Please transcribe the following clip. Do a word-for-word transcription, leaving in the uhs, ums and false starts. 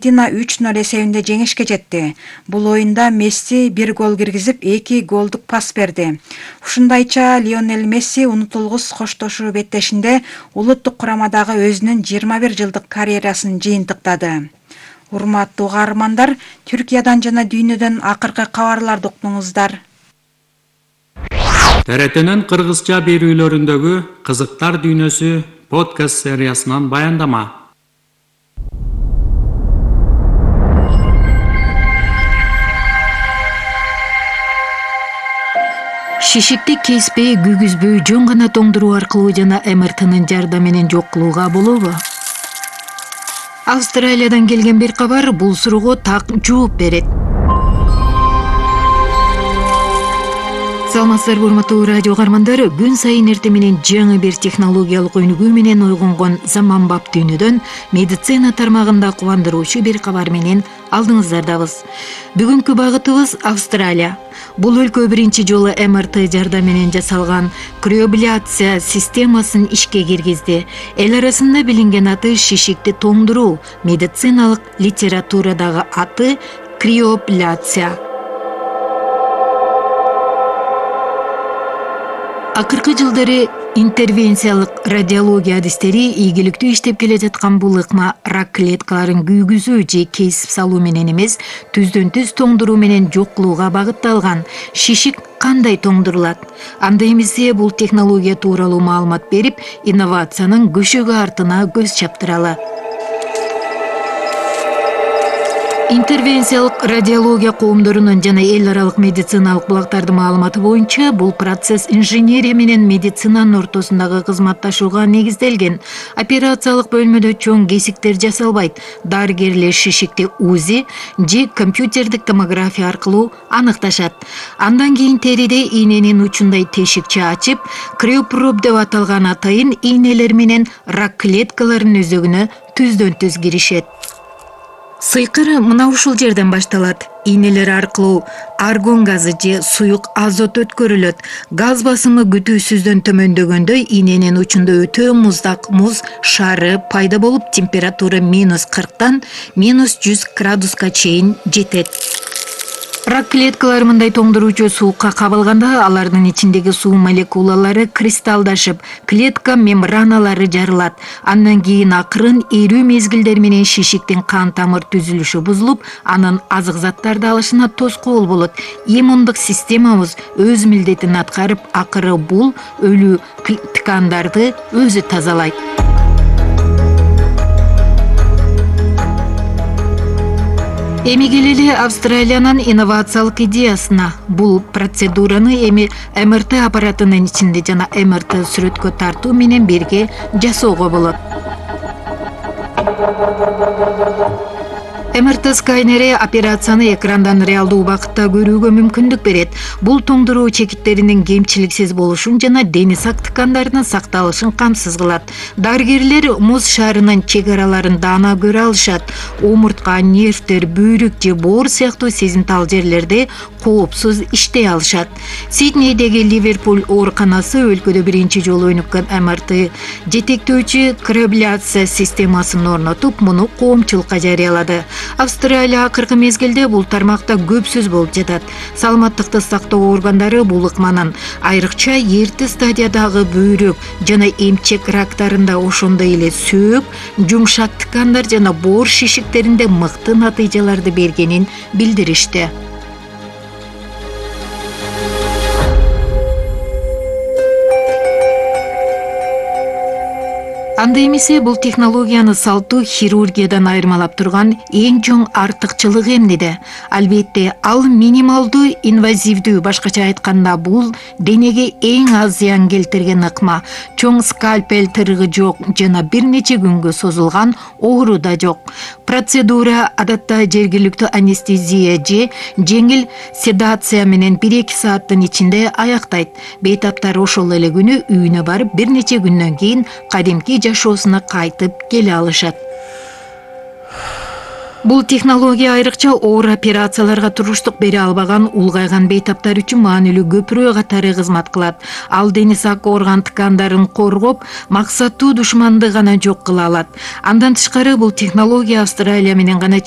Аргентина үч ноль эсебинде жеңишке жетти. Бул оюнда Месси бир гол киргизип, эки голдук пас берди. Ушундайча Лионель Месси унутулгус коштошуу беттешинде улуттук курамадагы өзүнүн жыйырма бир жылдык карьерасын жыйынтыктады. Урматтуу каармандар, Түркиядан жана дүйнөдөн акыркы кабарларды уктуңуздар. Т Р Т'нин кыргызча берүүлөрүндөгү кызыктар дүйнөсү подкаст сериясынан баяндама. Шишикти кеспей, күйгүзбөй, жөн гана тоңдуруу аркылуу жана эм эр тынын жардамы менен жок кылууга болобу? Австралиядан келген бир кабар бул суроого так жооп берет. Саламатсыздарбы, урматтуу радио каармандар, күн сайын эртең менен жаңы бир технологиялык өнүгүү менен ойгонгон заманбап дүйнөдөн медицина тармагында кубандыруучу бир кабар менен алдыңыздардабыз. Бүгүнкү багытыбыз Австралия. Бул өлкө биринчи жолу эм эр тэ жардамы менен жасалган криобляция системасын ишке киргизди. Эл арасында билинген аты шишикти тоңдуруу, медициналык литературадагы аты криобляция. Акыркы жылдары интервенциялык радиология адистери ийгиликтүү иштеп келе жаткан бул ыкма рак клеткаларын күйгүзүү же кесип салуу менен эмес, түздөн түз тоңдуруу менен жок кылууга багытталган. Шишик кандай тоңдурулат? Анда эмесе бул технология тууралуу маалымат берип, инновациянын көшөгө артына көз чаптыралы. Интервенциялык радиология коомдорунун жана эл аралык медициналык булактардын маалыматы боюнча, бул процесс инженерия менен медицинанын ортосундагы кызматташууга негизделген. Операциялык бөлмөдө чоң кесиктер жасалбайт. Дарыгерлер шишикти УЗИ же компьютердик томография аркылуу аныкташат. Андан кийин териде ийненин учундай тешикче ачып, криопроб деп аталган атайын ийнелер менен рак клеткаларынын өзөгүнө түздөн түз киришет. Сыйкыр мына ушул жерден башталат. Ийнелер аркылуу аргон газы же суюк азот өткөрүлөт. Газ басымы күтүүсүздөн төмөндөгөндө ийненин учунда өтө муздак муз шары пайда болуп, температура минус кырктан минус жүз градуска чейин жетет. Рак клеткалары мындай тоңдуруучу суукка кабылганда алардын ичиндеги суу молекулалары кристалдашып, клетка мембраналары жарылат. Андан кийин акырын эрүү мезгилдер менен шишиктин кан тамыр түзүлүшү бузулуп, анын азык заттарды алышына тоскоол болот. Иммундук системабыз өз милдетин аткарып, акыры бул өлүү ткандарды өзү тазалайт. Эми келели Австралиянын инновациялык идеясына. Бул процедураны эми эм эр тэ аппаратынын ичинде жана эм эр тэ сүрөткө тартуу менен бирге жасоого болот. эм эр тэ сканери операцияны экрандан реалдуу убакытта көрүүгө мүмкүндүк берет. Бул тоңдуруу чекиттеринин кемчиликсиз болушун жана дени сак ткандарынын сакталышын камсыз кылат. Дарыгерлер муз шарынын чек араларын даана көрө алышат. Омуртка, нервтер, бөйрөк же боор сыяктуу сезимтал жерлерде коопсуз иштей алышат. Сиднейдеги Ливерпуль ооруканасы өлкөдө биринчи жолу өнүккөн эм эр тэ жетектөөчү криобляция системасын орнотуп, муну коомчулукка жарыялады. Австралия акыркы мезгилде бул тармакта көпсүз болуп жатат. Саламаттыкты сактоо органдары бул ыкманын айрыкча эрте стадиядагы бөйрөк жана эмчек рактарында, ошондой эле сөөк, жумшак ткандар жана боор шишиктеринде мыкты натыйжаларды бергенин билдиришти. Анда эмесе бул технологияны салттуу хирургиядан айырмалап турган эң чоң артыкчылыгы эмнеде? Албетте, ал минималдуу инвазивдүү, башкача айтканда бул денеге эң аз зыян келтирген ыкма. Чоң скальпель тырыгы жок жана бир нече күнгө созулган оору да жок. Процедура адатта жергиликтүү анестезия же жеңил седация менен бир-эки сааттын ичинде аяктайт. Бейтаптар ошол эле күнү үйүнө барып, бир нече күндөн кийин кадимки жашоосуна кайтып келе алышат. Бул технология айрыкча оор операцияларга туруштук бере албаган улгайган бейтаптар үчүн маанилүү көпүрө катары кызмат кылат. Ал дени сак орган ткандарын коргоп, максаттуу душманды гана жок кыла алат. Андан тышкары бул технология Австралия менен гана